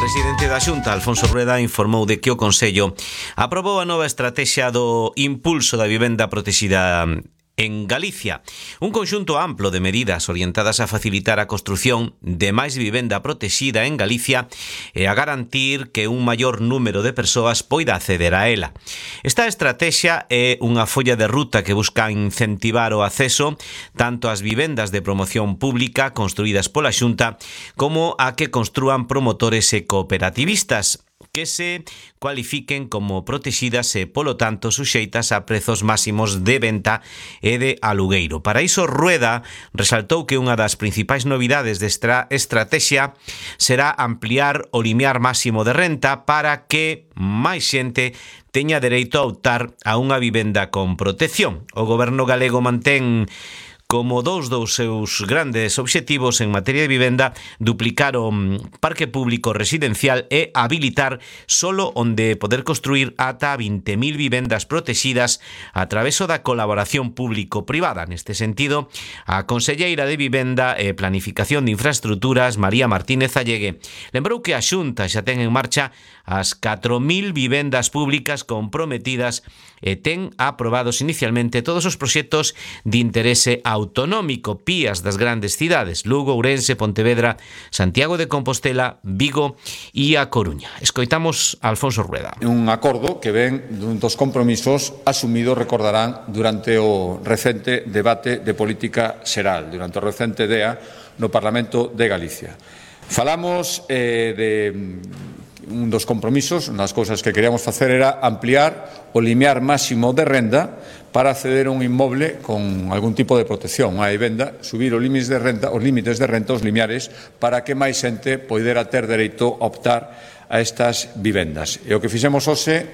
presidente da Xunta, Alfonso Rueda, informou de que o Consello aprobou a nova estratexia do impulso da vivenda protexida en Galicia, un conxunto amplo de medidas orientadas a facilitar a construción de máis vivenda protexida en Galicia e a garantir que un maior número de persoas poida acceder a ela. Esta estrategia é unha folla de ruta que busca incentivar o acceso tanto ás vivendas de promoción pública construídas pola Xunta como a que construan promotores e cooperativistas que se cualifiquen como protegidas e, polo tanto, suxeitas a prezos máximos de venta e de alugueiro. Para iso, Rueda resaltou que unha das principais novidades desta estrategia será ampliar o limiar máximo de renta para que máis xente teña dereito a optar a unha vivenda con protección. O goberno galego mantén como dous dos seus grandes obxectivos en materia de vivenda duplicar o parque público residencial e habilitar solo onde poder construir ata 20.000 vivendas protegidas a traveso da colaboración público-privada. Neste sentido, a conselleira de Vivenda e Planificación de Infraestructuras, María Martínez Allegue, lembrou que a Xunta xa ten en marcha as 4.000 vivendas públicas comprometidas e ten aprobados inicialmente todos os proxectos de interese autonómico, PIAs das grandes cidades, Lugo, Ourense, Pontevedra, Santiago de Compostela, Vigo e A Coruña. Escoitamos a Alfonso Rueda. Un acordo que ven dun dos compromisos asumidos, recordarán, durante o recente debate de política xeral, durante o recente DEA no Parlamento de Galicia. Falamos de un dos compromisos, unhas cousas que queríamos facer era ampliar o limiar máximo de renda para acceder a un inmoble con algún tipo de protección, unha vivenda, subir os límites de renta, os limiares, para que máis xente poidera ter dereito a optar a estas vivendas. E o que fixemos hoxe